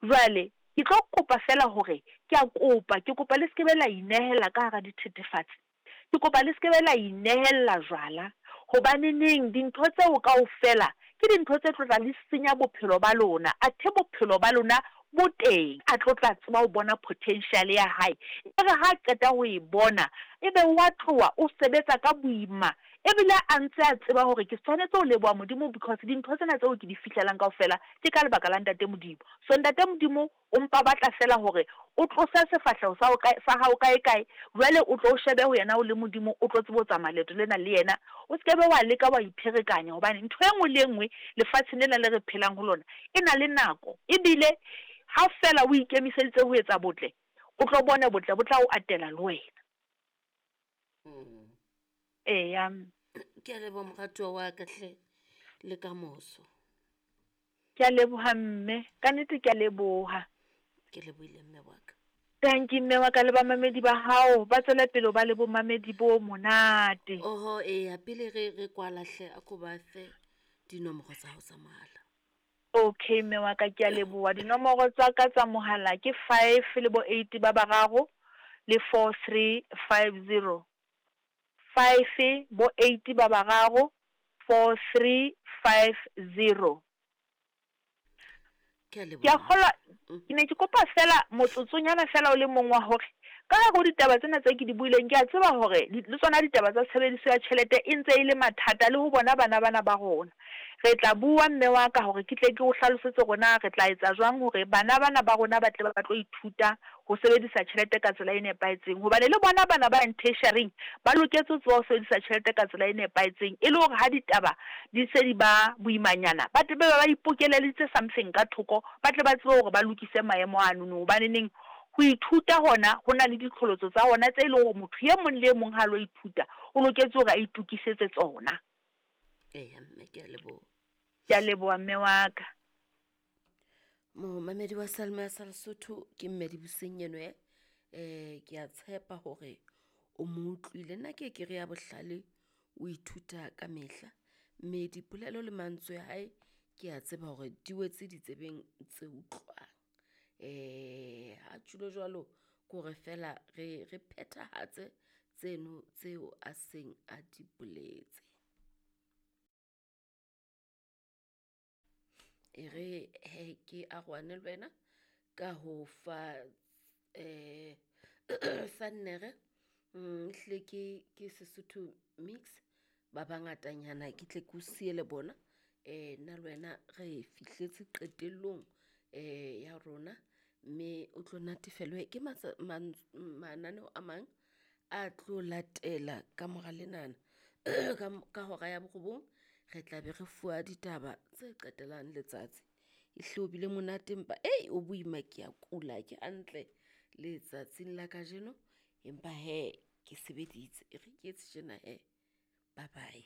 Jwale ke tlo kopa feela hore, ke a kopa, ke kopa le se ke be la inehella ka hara dithethefatsi. Ke kopa le se ke be la inehella jwala, hobaneneng dintho tseo kaofela ke dintho tse tlo tla li senya bophelo ba lona, athe bophelo ba lona bo teng. A tlo tla tseba ho bona potential ya hae, e re ha a qeta ho e bona, e be wa tloha o sebetsa ka boima, ebile a ntse a tseba hore ke tshwanetse ho leboha Modimo because dintho tsena tseo ke di fihlelang kaofela ke ka lebaka la Ntate Modimo. So Ntate Modimo O mpa batla feela hore o tlose sefahleho sa hao sa hao kae-kae, jwale o tlo o shebe ho Yena o le Modimo, o tlo tsebe ho tsamaya leeto lena le Yena. O se ke be wa leka wa ipherekanya, hobane ntho e nngwe le e nngwe lefatsheng lena le re phelang ho lona e na le nako. Ebile ha feela o ikemiseditse ho etsa botle, o tlo bone botle bo tla o atela le wena. Eya. Ke a leboha moratuwa wa ka hle, le ka moso. Ke a leboha mme, ka nnete ke a leboha. Ke lebohile mme wa ka. Tanki mme wa ka le bamamedi ba hao ba tswele pele ho ba le bomamedi bo monate. Oho eya pele re re kwala hle a ko ba fe dinomoro tsa hao tsa mohala. Okay mme wa ka ke a leboha. Dinomoro tsa ka tsa mohala ke 5 le bo 8 ba bararo le 4 3 5 0. 5 bo 8 ba bararo 4 3 5 0. Ke a Ke a leboha. kgolwa ke ne ke kopa feela motsotsonyana feela o le mong wa hore ka hare ho ditaba tsena tse ke di buileng, ke a tseba hore le tsona ditaba tsa tshebediso ya tjhelete e ntse e le mathata le ho bona bana bana ba rona. Re tla bua mme wa ka hore ke tle ke o hlalosetse hore na re tla etsa jwang hore bana bana ba rona ba tle ba tlo ithuta ho sebedisa tjhelete ka tsela e nepahetseng. Hobane le bona bana ba yang tertiary-ing ba loketse ho tseba ho sebedisa tjhelete ka tsela e nepahetseng e le hore ha ditaba di se di ba boimanyana ba tle be ba ipokeleleditse something ka thoko ba tle ba tsebe hore ba lokise maemo anono. Hobaneneng ho ithuta hona ho na le diqholotso tsa hona tse e leng hore motho e mong le e mong ha a lo ithuta o loketse hore a itokisetse tsona. Eya mme ke a leboha. Ke a leboha mme wa ka. Momamedi wa Salma ya sa Lesotho ke mme Dibuseng eno eh. Eh ke a tshepa hore o mo utlwile. Nna ke ke re ya bohlale o ithuta ka mehla. Mme dipolelo le mantswe a hae ke a tseba hore di wetse ditsebeng tse utlwang. Eh ha tjhulo jwalo ke hore feela re re phethahatse tseno tseo a seng a di boletse. E re he ke arohane le wena ka ho fa eh sannere ehlile ke ke Sesotho mix ba bangatanyana ke tle ke o siele bona eh nna le wena re fihletse qetellong eh ya rona mme o tlo natefelwe ke mananeo a mang a tlo latela ka mora lenana ka hora ya borobong re tla be re fuwa ditaba tse qetellang letsatsi. Ehlile o bile monate empa ei o boima ke a kula ke hantle letsatsing la kajeno empa hee ke sebeditse e re ke etse tjena hee. Bye bye.